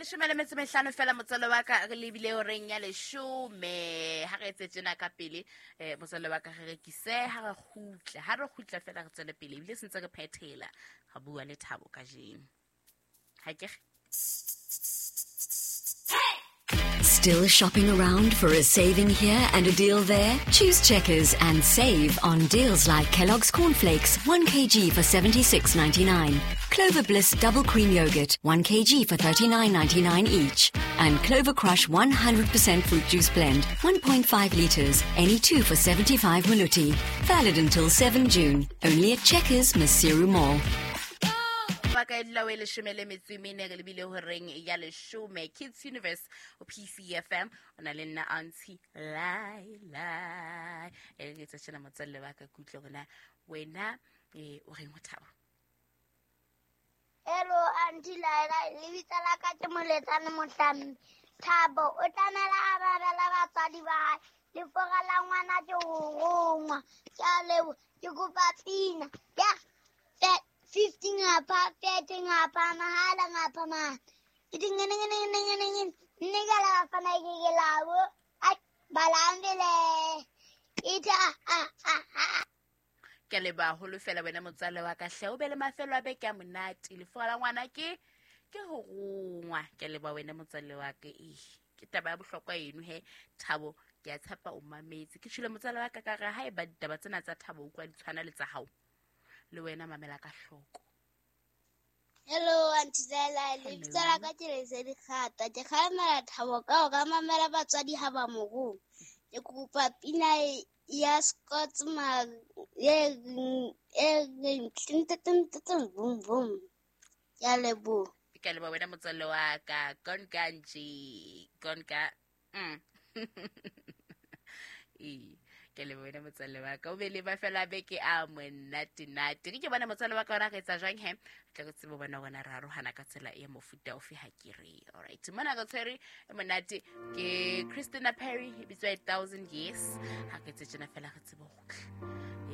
Leshome le metso mehlano fela motswalo wa ka re lebile horeng ya leshome. Ha re etse tjena ka pele, motswalo wa ka re rekise ha re kgutla. Ha re kgutla fela re tswele pele ebile se ntse re phethela. Re bua le Thabo kajeno. Ha ke re? Still shopping around for a saving here and a deal there? Choose Checkers and save on deals like Kellogg's Cornflakes, 1 kg for 76.99, Clover Bliss Double Cream Yogurt, 1 kg for 39.99 each, and Clover Crush 100% Fruit Juice Blend, 1.5 litres, any two for 75 maluti. Valid until 7 June, only at Checkers, Maseru Mall. Ba ka e dula o e leshome le metso e mene re lebile horeng ya leshome. Kids Universe o PCFM o na le nna Auntie Lai Lai. E re ke etsa tjena motswalle wa ka ke utlwe hore na wena o reng ho Thabo. Hello Auntie Lai Lai, lebitso la ka ke Moletsane Mohlambi. Thabo o tlamela a babela batswadi ba hae. Lefora la ngwana ke ho rongwa. Ke a leboha, ke kopa pina ya 50 ngapha, 30 ngapha, mahala ngapha ma. Ke di ngene ngene ngene ngene ngene. Nne ka la bafana ke ke labo. Ai, balambele. Ita a a a. Ke leboha haholo fela wena motswalle wa ka hle, o be le mafelo a beke a monate. Lefora la ngwana ke ho rongwa. Ke leboha wena motswalle wa ka. Ee, ke taba ya bohlokwa eno he Thabo, ke a tshepa o mametse. Ke tjhole motswalle wa ka ka re haeba ditaba tsena tsa Thabo o utlwa di tshwana le tsa hao, le wena mamela ka hloko. Hello Auntie Laila, lebitso la ka ke Lesedi Kgata. Ke kgalemela Thabo ka hore a mamele batswadi ha ba mo roma. Ke kopa pina ya Scott ma e reng tin tin tin tin boom boom. Ke a leboha. Ke a leboha wena motswalle wa ka. Konka nje, konka. Ee, ke le wena motswalle wa ka. O be le mafelo a beke a monate-nate. Ke bona motswalle wa ka ona re etsa jwang he? Tla re tsebe bona rona re arohana ka tsela e mofuta ofe ha ke re. All right. Mona re tshwere e monate ke Christina Perry, e bitswa 1000 Years. Ha ke tse tjena fela re tsebe ho kgutla.